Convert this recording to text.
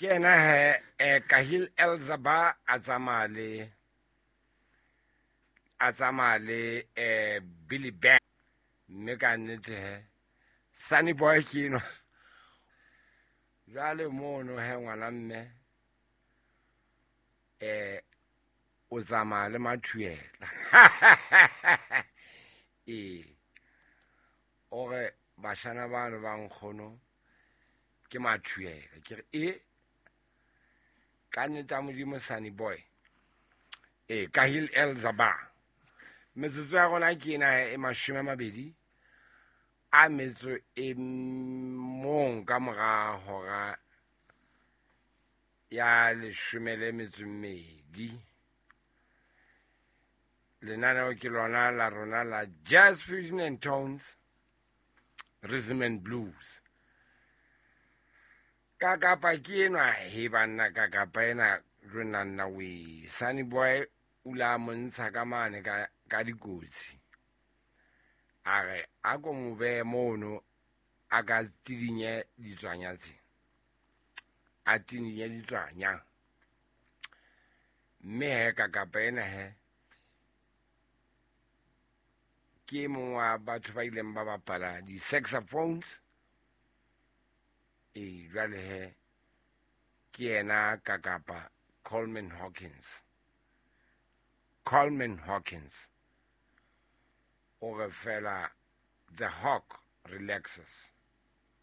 Ke ena he Kahil Elzaba a tsamaya le a tsamaya le Billy Ben, mme ka nnete he Sunny Boy ke enwa. Jwale mono he ngwana mme o tsamaya le mathuela. Ee, o re bashana bano ba nkgono ke mathuela. Ke re e ka nnete ya Modimo Sunny Boy. Ee, Kahil Elzaba. Metsotso ya rona ke ena e 20 a metso e mong ka mora hora ya 12. Lenaneo ke lona la rona la Jazz Fusion and Tones, Rhythm and Blues. Ka kapa ke enwa he banna, ka kapa ena rona nna we Sunny Boy o la montsha ka mane ka dikotsi. A re a ko mo behe mono a ka tidinye ditswanya tse. A tidinye ditswanya. Mme he ka kapa ena he ke mong wa batho ba ileng ba bapala di-saxophones. E jwale he ke yena ka kapa Coleman Hawkins. Coleman Hawkins o re fela the hawk relaxes.